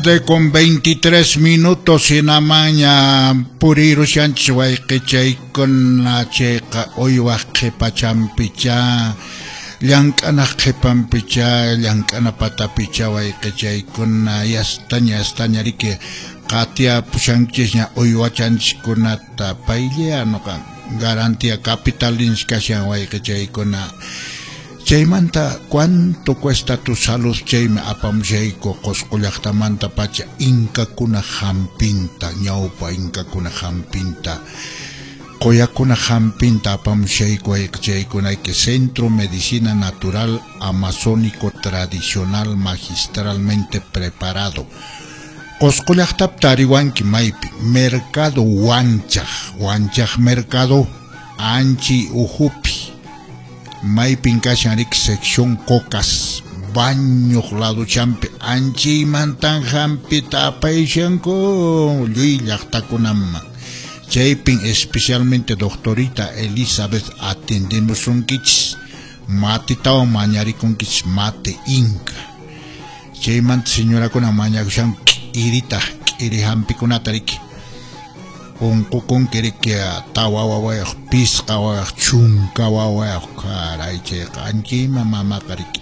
De con 23 minutos hinamaña purirushanchis wayqichaykuna chayqa uywaq qhipachanpicha llank'anaq qhipanpicha llank'ana patapicha wayqichaykuna yastaña yastaña riki qatiyapushanchisña uywachanchikkunata paylla nuqa garantía capitalins kashan wayqichaykuna. Chaymanta, ¿cuánto cuesta tu salud? Chaymi apamushayku Qusqu llaqtamanta pacha inkakuna hampinta, ñawpa inkakuna hampinta, quyakuna hampinta apamushayku wayqichaykunayki Centro Medicina Natural Amazónico Tradicional Magistralmente Preparado. Qusqu llaqtapi tariwanki maypi Mercado Wanchaq, Wanchaq Mercado Anchi Ujupi. Maypin kashan riki sección Cocas, bañuq laduchampi anchiymantan hampita apayshanku lluy llaqtakunaman. Chaypin especialmente doctorita Elizabeth atendemusunkichis, matitawan mañarikunkichis mate inca. Chaymanta señorakuna mañakushanku k'irita, k'iri hampikunata riki. Unqukunki riki tawa wawayuq, pisqa wawayuq, chunka wawayuq, caray chayqa anchayman mamaqa riki.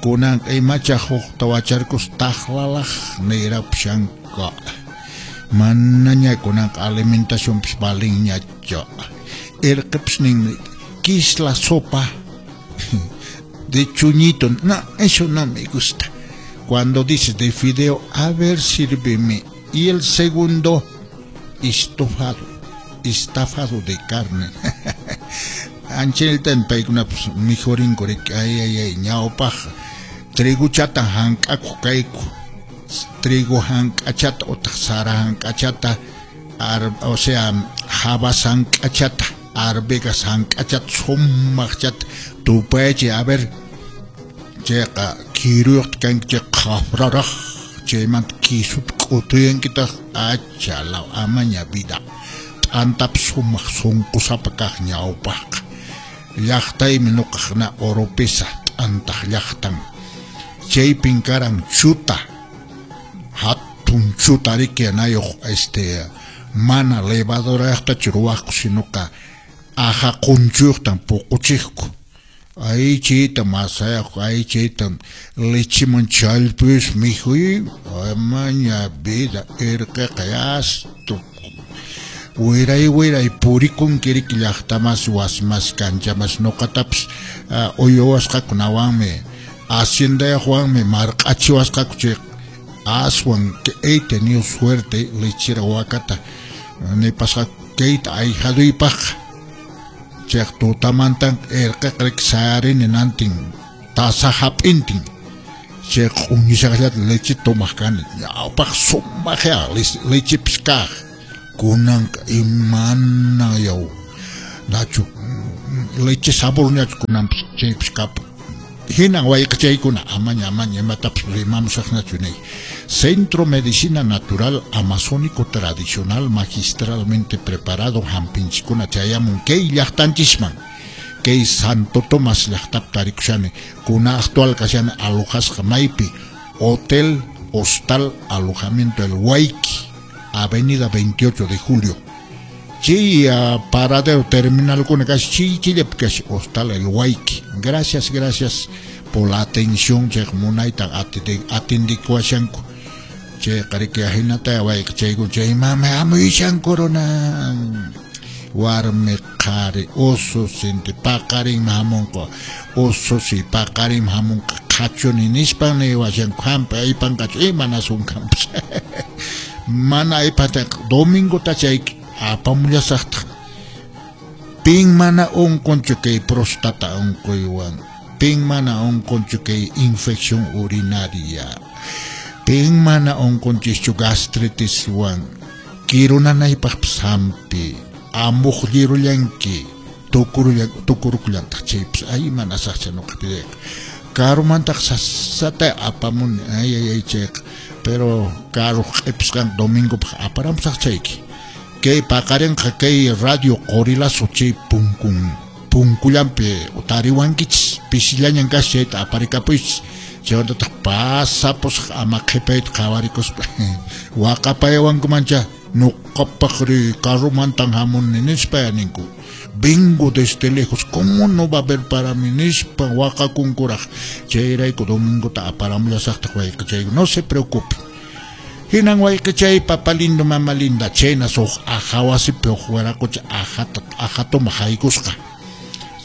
Kunanqa imacha hukta wacharkus taqlalaq nirapushanku. Manaña kunanqa alimentacionpis valinñachu. Irqipis ninmi, ¿qué la sopa de chuñito? No, eso no me gusta. Cuando dices de fideo, a ver, sírveme. Y el segundo, estofado, estafado de carne. Anchaytan paykunapas mikhurinku riki, ay ay ay, ñawpaq triguchata hank'akuq kayku, trigo hank'achata utaq sara hank'achata, o sea, habas hank'achata, arvejas hank'achata, sumaqchata tupayachiy, a ver, chayqa kiruyuqta kanki chayqa qhafraraq, chaymanta quisuta k'utuyankitaq, achalaw amaña vida. T'antapas sumaq sunqusapa kaq ñawpaqqa. Llaqtaymi nuqaqna Oropesa t'antaq llaqtan. Chaypin karan chuta, hatun chuta riki nayuq mana levadurayuqtachu ruwaqku sinuqa aja qunchuyuqtan puquchiqku. Ay chayta masayaq, ay chayta lechiman challpuyus mikhuy, amaña vida irqiqa yastu. Wiray wiray purikunki riki llaqtamas wasimas kanchamas nuqatapas uywasqakunawanmi haciendayuqwanmi marq'achiwasqaku chay aswan he tenido suerte lechera wakata nipasqaku kayta ayhaduypaqqa. Chayqa tutamantan irqiqa riki sayarini nantin tasa hap'intin chay q'uñishaqllata leche tomaq kani ñawpaq sumaqya lechepis kaq. Kunanqa imana yaw nachu leche saborñachu kunanpis chaypis kapun. Hinan wayqichaykuna amaña amaña imatapas rimamusaqñachu nay. Centro Medicina Natural Amazónico Tradicional Magistralmente Preparado hampinchikkuna chayamun kay llaqtanchisman. Kay Santo Tomás llaqtapi tarikushani kuna actual kashani alojasqa maypi Hotel Hostal Alojamiento El Huayqui, Avenida 28 de Julio. Chay paradero terminal kuna kashi chay chillapi kashi Hostal El Huayqui. Gracias, gracias por la atención chay munayta atendikuashanku. Chayqa riki ahinata wayqichaykuna chay mama hamuyashanku runa. Warmi qhari ususinti paqarinmi hamunqa, ususi paqarinmi hamunqa qhachuni nispan niwashanku hampi aypanqachu imanasunkanpas. Mana aypataqa domingota chay apamullasaqtaq. Pin mana unqunchu kay próstata unquywan, pin mana unqunchu kay infección urinaria, pin mana unqunchischu gastritiswan, kirunanaypaqpas hampi, amuqllirullanki, tukurukullantaq chaypas ay mana saqcha nuqa pidayqa. Karumantaq sasata apamuni, ay ay ay chayqa, pero karuq q'ipisqan domingopaq aparamusaq chayki. Kay paqarinqa kay radio Qorilazo chay punkullanpi tariwankichis, pisillañan kashan chayta aparikapuychis. Chaywantataq pasapusaq ama qhipayta qhawarikuspa waqapayawankumancha nuqapaqri carromantan hamuni nispa ninku. Vengo desde lejos, ¿cómo no va a haber para mí nispa waqakunkuraq. Chayrayku domingota aparamullasaqtaq wayqichay, no se preocupe. Hinan wayqichay, papa lindo, mama linda, chaynas huk aja wasipi huk wiraqucha ajata ajatuma haykusqa.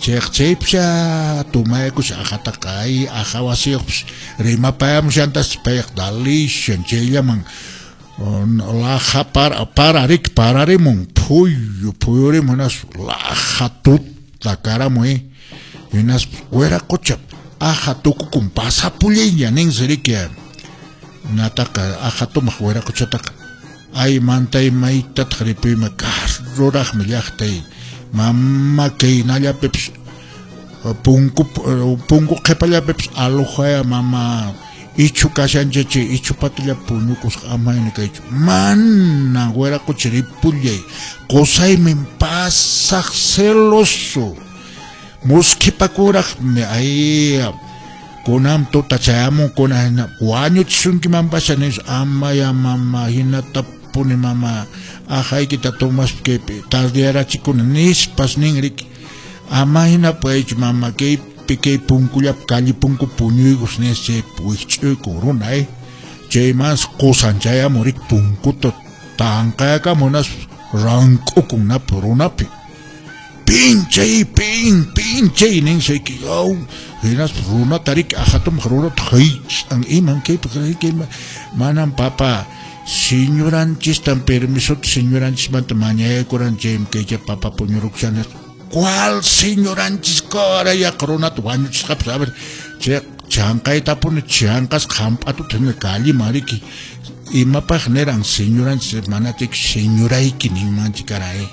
Chayqa chaypisha tumaykusha ajataqa ay aja wasiyuqpis rimapayamushantas payqa dalishan chayllaman laja pararik pararimun phuyu phuyurimun hinas laja tuta karamun hinas wiraqucha aja tukukun pasapullayña ninsi riki nataqa aja tumaq wiraquchataqa ay mantay maytataq ripuyma karruraqmi llaqtay mama kaynallapipis punku punku qhipallapipis alojaya mama ichu kashanchachi ichu patilla puñukusqa amayna kaychu mana wiraqucha ripullay qusaymi pasaq celoso muskhipakuraqmi ay kunan tuta chayamun kunan wañuchisunkimanpasha nispa amaya mama hinatapuni mama ajaykita tomaspa kaypi tardeyarachikuna nispas nin riki ama hina paychu mama kaypi kay punkullapi calle punku puñuykus nis chaypi wikch'uykun runa chaymas qusan chayamun riki punkuta tanqayakamun hinaspa rank'ukun napi runapi pinchay pin pinchay ninsi yaw hinaspa runata riki ajatumaq runata haych'an iman kaypi manam papa señoranchistan permisota señoranchismanta mañaykuran chaymi kaycha papa puñurukushan ¿cuál señoranchis karayaq runata wañuchisqapas a ver chay chanqaytapuni chanqasqa hamp'atuta hina calleman riki imapaq niran señoranchis manachayki señorayki ninmanchik karan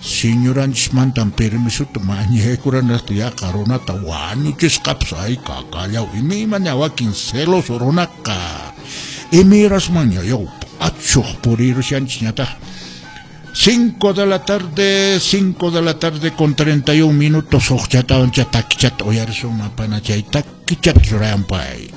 señoranchismantan permisota mañaykuran yaqa runata wañuchisqapas ay kakallaw imaymaña wakin celoso runaqa imayrasmanña yaw achuq purirushanchis ñataq. 5 de la tarde, 5 de la tarde con 31 minutos, huk chatawan takichata uyarisun mapana chay takichata churayanpay.